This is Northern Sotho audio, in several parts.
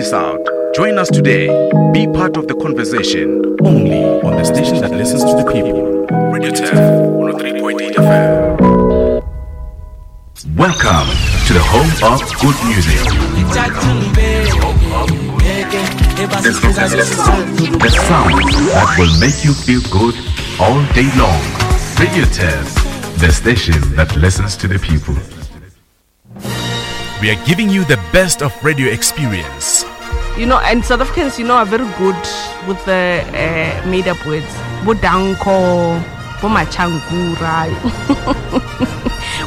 miss out. Join us today. Be part of the conversation only on the station that listens to the people. Radio 10, 103.8 FM. Welcome to the home of good music. The sound that will make you feel good all day long. Radio 10, the station that listens to the people. We are giving you the best of radio experience. You know, and South Africans, you know, are very good with the uh, made up words. Bodanko, Bomachankura.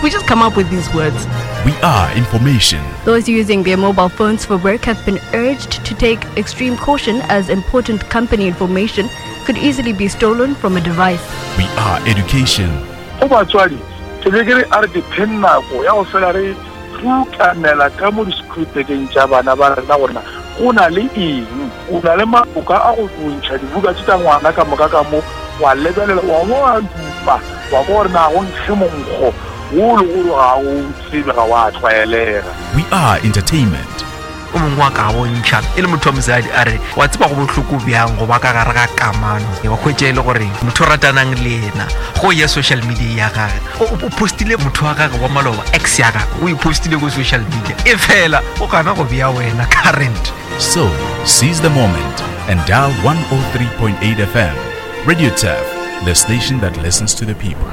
we just come up with these words. We are information. Those using their mobile phones for work have been urged to take extreme caution as important company information could easily be stolen from a device. We are education. Go batswadi, ke be ke re a re dipheng nako ya go fela re rutamela ka mo disekhurutekeng tša bana ba rena gore na go na le eng. O na le maloka a go ntšha dibuka tše tša ngwana ka moka ka mo, wa lebelela, wa bo wa dupa, wa kwa gore na go nkge monkgo wo le gore ga o tsebe, ga wa tlwaelega. We are entertainment. O mongwe wa ka bontšha e le motho wa mosadi a re wa tseba go bohloko bjang go ba ka gare ga kamano wa hwetša e le gore motho o ratanang le yena go ya social media ya gage o postile motho wa gage wa maloba ex ya gage o e postile ko social media e fela o gana go bea wena current. So, seize the moment and dial 103.8 FM. Radio Turf, the station that listens to the people.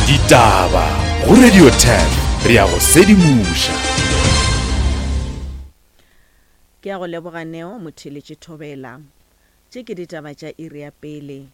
Ditaba go Radio 10 re ya go sedimoša. Ke a go leboga Neo Motheeletši Thobela. Tše ke ditaba tša iri ya pele.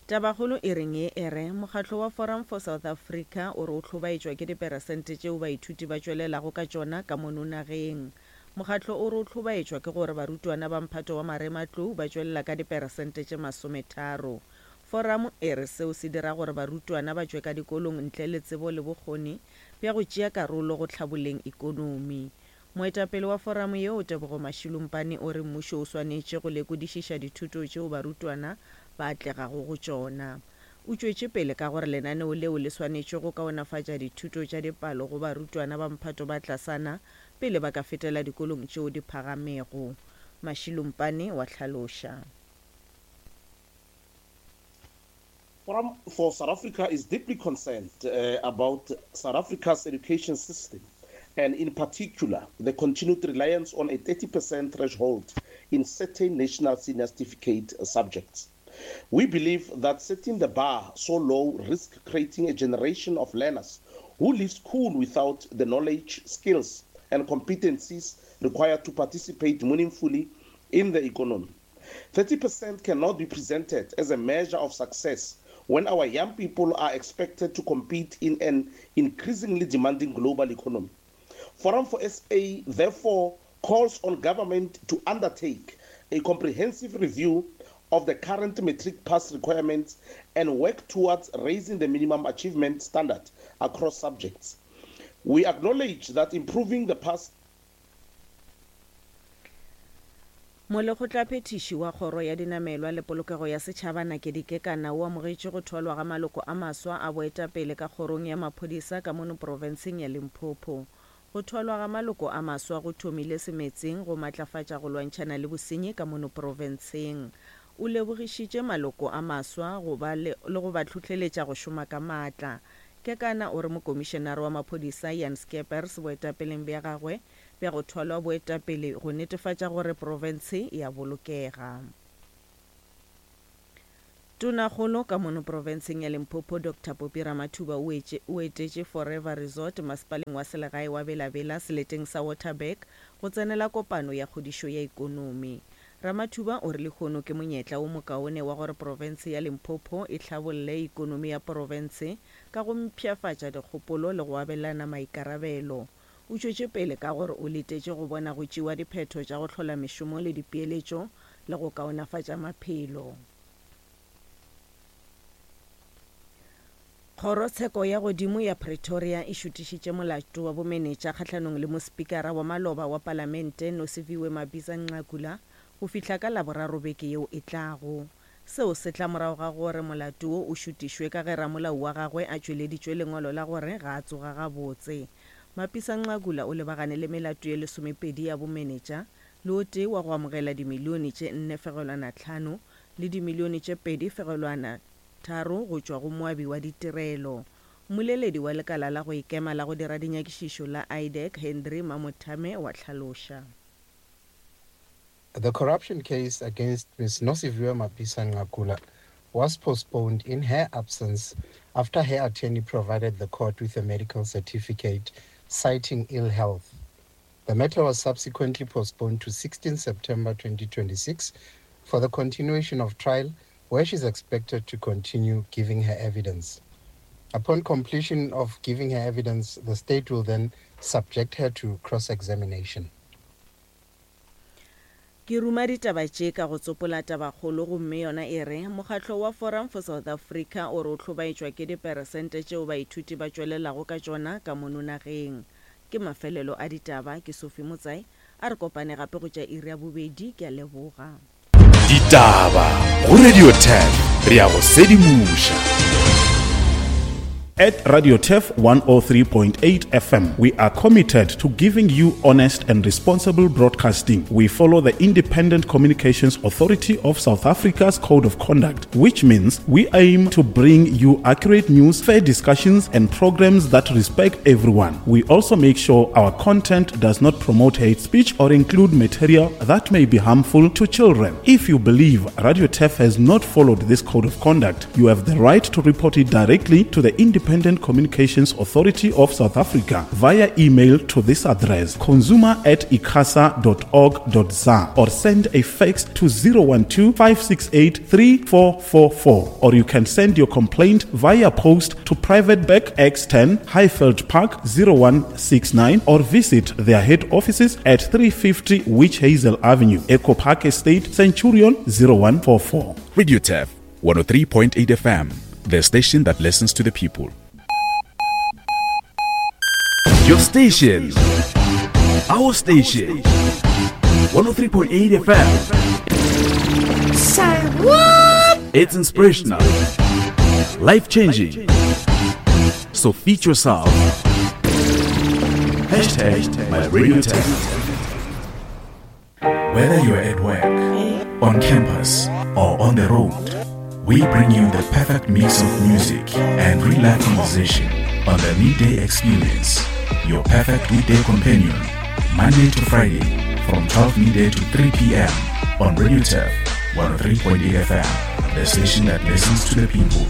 Tabakgolo e reng ye e re, Mokgatlo wa Forum for South Africa o re o hlobaetšwa ke diperesente tšeo baithuti ba tšwelelago ka tšona ka mono nageng. Mokgatlo o re o hlobaetšwa ke gore barutwana ba mphato wa marematlou ba tšwelela ka diperesente tše masometharo. Foramo e re seo se dira gore barutwana ba tšwe ka dikolong ntle le tsebo le bokgoni bja go tšea karolo go hlaboleng ikonomi. Moetapele wa foramo yeo, Tebogo Mashilumpane o re mmušo o swanetše go lekodišiša dithuto tšeo barutwana ba atlegago go tšona. O tšwetše pele ka gore lenaneo leo le swanetše go kaonafatša dithuto tša dipalo go barutwana ba mphato ba tlasana pele ba ka fetela dikolong tšeo di phagamego. Mashilumpane wa hlaloša. Forum for South Africa is deeply concerned uh, about South Africa's education system and in particular the continued reliance on a 30% threshold in certain national senior certificate subjects. We believe that setting the bar so low risks creating a generation of learners who leave school without the knowledge, skills, and competencies required to participate meaningfully in the economy. 30% cannot be presented as a measure of success when our young people are expected to compete in an increasingly demanding global economy. Forum for SA therefore calls on government to undertake a comprehensive review of the current matric pass requirements and work towards raising the minimum achievement standard across subjects. We acknowledge that improving the pass Molekgotlaphethiši wa Kgoro ya Dinamelwa le Polokego ya Setšhaba Nakedi Kekana o amogetše go thwalwa ga maloko a maswa a boetapele ka kgorong ya maphodisa ka mono profenseng ya Limpopo. Go thwalwa ga maloko a maswa go thomile semetseng go matlafatša go lwantšhana le bosenyi ka mono profenseng. O lebogišitše maloko a maswa go ba le le go ba hlohleletša go šoma ka maatla. Kekana o re mokomišenare wa maphodisa Jan Scheepers boetapeleng bja gagwe bja go thwalwa boetapele go netefatša gore profense e a bolokega. Tonakgolo ka mono profenseng ya Limpopo Doctor Poppy Ramathuba o etše o etetše Forever Resort masepaleng wa selegae wa Bela-Bela seleteng sa Waterberg go tsenela kopano ya kgodišo ya ikonomi. Ramathuba o re lehono ke monyetla wo mokaone wa gore profense ya Limpopo e hlabolle ikonomi ya profense ka go mpshafatša dikgopolo le go abelana maikarabelo. O tšwetše pele ka gore o letetše go bona go tšewa diphetho tša go hlola mešomo le dipeeletšo le go kaonafatša maphelo. Kgorotsheko ya Godimo ya Pretoria e šutišitše molato wa bomenetša kgahlanong le mospikara wa maloba wa palamente Nosiviwe Mapisa-Nqakula go fihla ka Laboraro beke yeo e tlago. Seo se tla morago ga gore molato wo o šutišwe ka ge ramolao wa gagwe a tšweleditšwe lengwalo la gore ga a tsoga gabotse. Mapisa-Nqakula o lebagane le melato ye lesomepedi ya bomenetša. le o tee wa go amogela dimilione tše nne fegelwana tlhano le dimilione tše pedi fegelwana tharo go tšwa go moabi wa ditirelo. Mmoleledi wa lekala la go ikema la go dira dinyakišišo la IDAC, Hendry Mamothame wa hlaloša. The corruption case against Ms Nosiviwe Mapisa-Nqakula was postponed in her absence after her attorney provided the court with a medical certificate citing ill health. The matter was subsequently postponed to 16 September 2026 for the continuation of trial, where she's expected to continue giving her evidence. Upon completion of giving her evidence, the state will then subject her to cross-examination. Ke ruma ditaba tše ka go tsopola tabakgolo gomme yona e re, Mokgatlo wa Forum for South Africa o re o hlobaetšwa ke diperesente tšeo baithuti ba tšwelelago ka tšona ka mono nageng. Ke mafelelo a ditaba, ke Sophie Motsai, a re kopane gape go tša iri ya bobedi, ke a leboga. Ditaba go Radio 10 re ya go sedimoša. At Radio Turf 103.8 FM, we are committed to giving you honest and responsible broadcasting. We follow the Independent Communications Authority of South Africa's Code of Conduct, which means we aim to bring you accurate news, fair discussions, and programs that respect everyone. We also make sure our content does not promote hate speech or include material that may be harmful to children. If you believe Radio Turf has not followed this code of conduct, you have the right to report it directly to the Independent Communications Authority of South Africa via email to this address consumer at icasa.org.za or send a fax to 012 568 3444 or you can send your complaint via post to Private Bank X10 Highveld Park 0169 or visit their head offices at 350 Witch Hazel Avenue, Echo Park Estate, Centurion 0144. Radio Turf 103.8 FM, the station that listens to the people. Your station, our station, 103.8 FM. Say what? It's inspirational, life changing. So feed yourself. Hashtag my radio tech. Whether you're at work, on campus, or on the road, we bring you the perfect mix of music and real life conversation on the Midday Experience, your perfect weekday companion, Monday to Friday from 12 midday to 3 p.m. on Radio Turf 103.8 FM, the station that listens to the people.